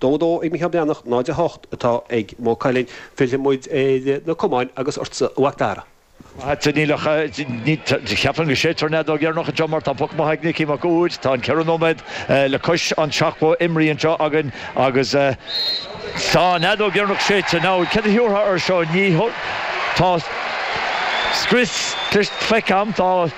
2, 2 ag Micheál Breathnach, 0, 8 atá ag Maigh Cuilinn. Fillfidh muid ar na camáin agus ortsa a Mhac Dara. Maith agat, níl ach, cheapfainn go séidfear an fheadóg dheireanach anseo mar tá poc maith ag Nicky Mac Uaid. Tá an 4 nóiméad le cois an 70 imrithe anseo againn agus tá an fheadóg dheireanach séidte. Now, céard a thiúrfá air seo? Ní, tá scrios feicthe agam, tá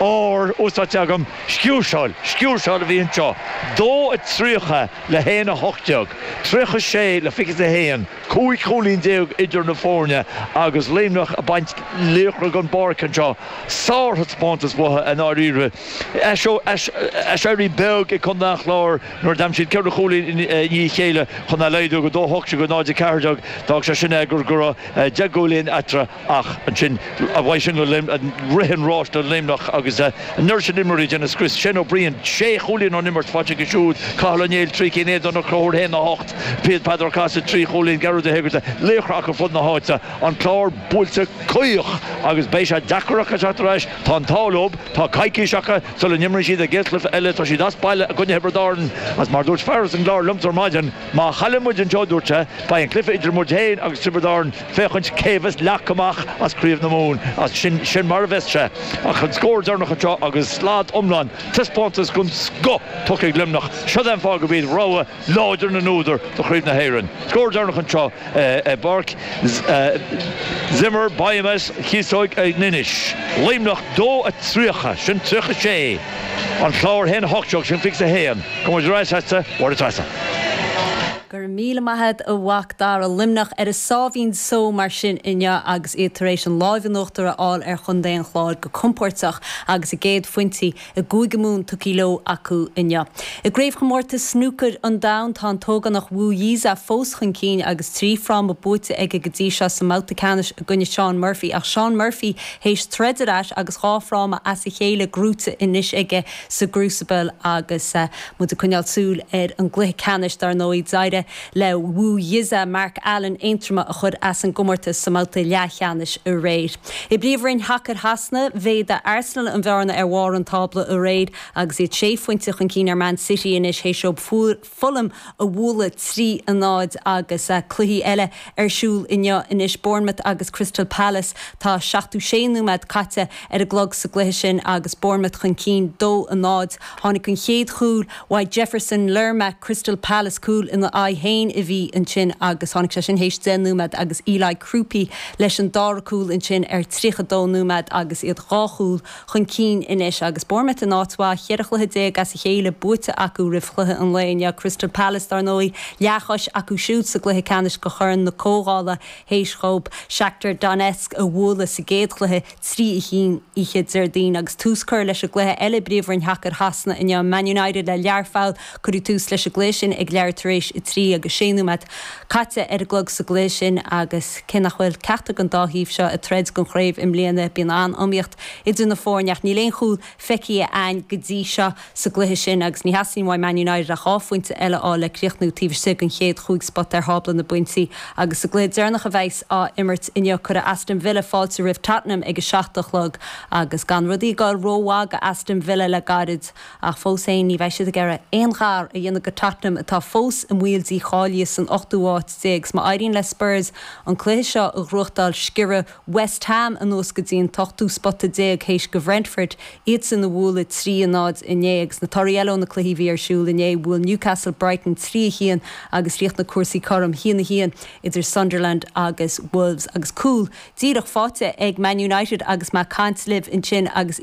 ár úsáidte agam. Sciúrsáil, sciúrsáil a bhí anseo. 2 30 le 1 18, 36 le 21, 15 chúilín idir na foirne agus Luimneach ag baint laochra den bpáirc anseo. Sárthaispeántas uathu i ndáiríre. Aiséirí beag ag Contae an Chláir nuair a d'aimsigh siad ceithre chúilín i ndiaidh a chéile chun é a laghdú go 2 18 go 0 14. D'fhág sé sin é go raibh 10 gcúilín eatarthu. Ach ansin, uaidh sin go rith an ráis do Luimneach agus an oiread sin imreoirí ag déanamh scrios. Shane O'Brien, sé chúilín ón imirt faighte aige siúd, Cathal Ó Néill, 3 cinn, Aodán Ó Conchúir, 1, 8, Peadar Ó Cathasaigh, 3 chúilín, Gearóid Ó hÉigeartaigh, laochra acu fud na háite. An Clár buailte caoch agus beidh sé deacair acu teacht ar ais. Tá an t-ádh leo, tá coicís acu sula n-imríonn siad a gcéad chluiche eile. Tá siad as baile i gcoinne Thiobraid Árann agus mar a dúirt fear as an gClár liomsa ar maidin, má chailleann muid anseo, a dúirt sé, beidh an cluiche idir muid féin agus Tiobraid Árann féachaint cé bheas leagtha amach as Craobh na Mumhan. As sin, sin mar a bheas sé. Ach an scór deireanach anseo agus slad iomlán, taispeántas den scoth tugtha ag Luimneach. Seo é an fáth gurb iad rogha láidir na n-údar do Chraobh na hÉireann. Scór deireanach anseo i bPáirc Zimmer Biomet Chíosóg in Inis. Luimneach 2 30, sin 36. An Clár 1 18, sin 21. Gabhfaidh muid ar ais agatsa, Máire Treasa. Go raibh míle maith agat a Mhac Dara. Luimneach ar a sáimhín só mar sin inniu agus iad tar éis an láimh in uachtar a fháil ar chontae an Chláir go compóirteach agus a gcéad phointí i gCúige Mumhan tugtha leo acu inniu. I gCraobhchomórtas Snúcair an Domhain tá an t-ógánach Wu Yize fós chun cinn agus 3 fráma buaite aige go dtí seo sa mbabhta ceannais i gcoinne Shaun Murphy ach Shaun Murphy théis troid ar ais agus 2 fráma as a chéile gnóite anois aige sa gCrucible agus muid ag coinneáil súil ar an gcluiche ceannais dar ndóigh d'éirigh le Wu Yize Mark Allen Aontroma a chur as an gcomórtas sa mbabhta leathcheannais aréir. I bPríomhroinn Shacar Shasana, mhéadaigh Arsenal an bhearna ar bharr an tábla aréir agus iad sé phointe chun cinn ar Man City anois théis dóibh Fulham a bhualadh 3 a 0 agus cluichí eile ar siúl inniu anois, Bournemouth agus Crystal Palace. Tá 76 nóiméad caite ar an gclog sa gcluiche sin agus Bournemouth chun cinn 2 a 0. Tháinig an chéad chúl uaidh Jefferson Lerma, Crystal Palace, cúl ina aghaidh féin a bhí ansin agus tháinig sé sin théis 10 nóiméad agus Eli Kroupi leis an dara cúl ansin ar 32 nóiméad agus iad dhá chúl chun cinn anois agus Bournemouth in áit mhaith, 14 chluiche as a chéile buaite acu roimh chluiche an lae inniu. Crystal Palace, dar ndóigh, leathchois acu siúd sa gcluiche ceannais do Chorn na Comhdhála théis dhóibh Shakhtar Donetsk a bhualadh sa gcéad chluiche 3 1 oíche Déardaoin. Agus tús curtha leis an gcluiche eile i bPríomhroinn Shacair Shasana inniu, Man United le Learpholl, cuireadh tús leis an gcluiche sin ag leathuair tar éis a trí agus sé nóiméad caite ar an gclog sa gcluiche sin agus cé nach bhfuil ceachtar den dá thaobh seo ag troid don chraobh i mbliana, bíonn an-iomaíocht idir na foirne ach níl aon chúl feicthe a'ainn go dtí seo sa gcluiche sin agus ní theastaíonn uaidh Man United ach 2 phointe eile a fháil le críochnú taobh istigh den chéad chúig spota ar thábla na bpointí agus sa gcluiche deireanach a bheas á imirt inniu cuirfidh Aston Villa fáilte roimh Tottenham ag a 7 a chlog agus gan rudaí ag dul rómhaith do Aston Villa le gairid ach fós féin ní bheidh siad ag iarraidh aon ghar a dhéanamh go Tottenham atá fós i mbaol dícháilithe san ochtú háit déag. 'S má éiríonn le Spurs an cluiche seo a ghnóthachtáil sciorrfaidh West Ham anuas go dtí an t-ochtú spota déag théis do Bhrentford iadsan a bhualadh 3 0 inné. Agus na torthaí eile ó na cluichí a bhí ar siúl inné, bhuail Newcastle Brighton 3 1 agus chríochnaigh cúrsaí cothrom 1 1 idir Sunderland agus Wolves. Agus cúl díreach faighte ag Man United agus mé ag caint libh ansin agus.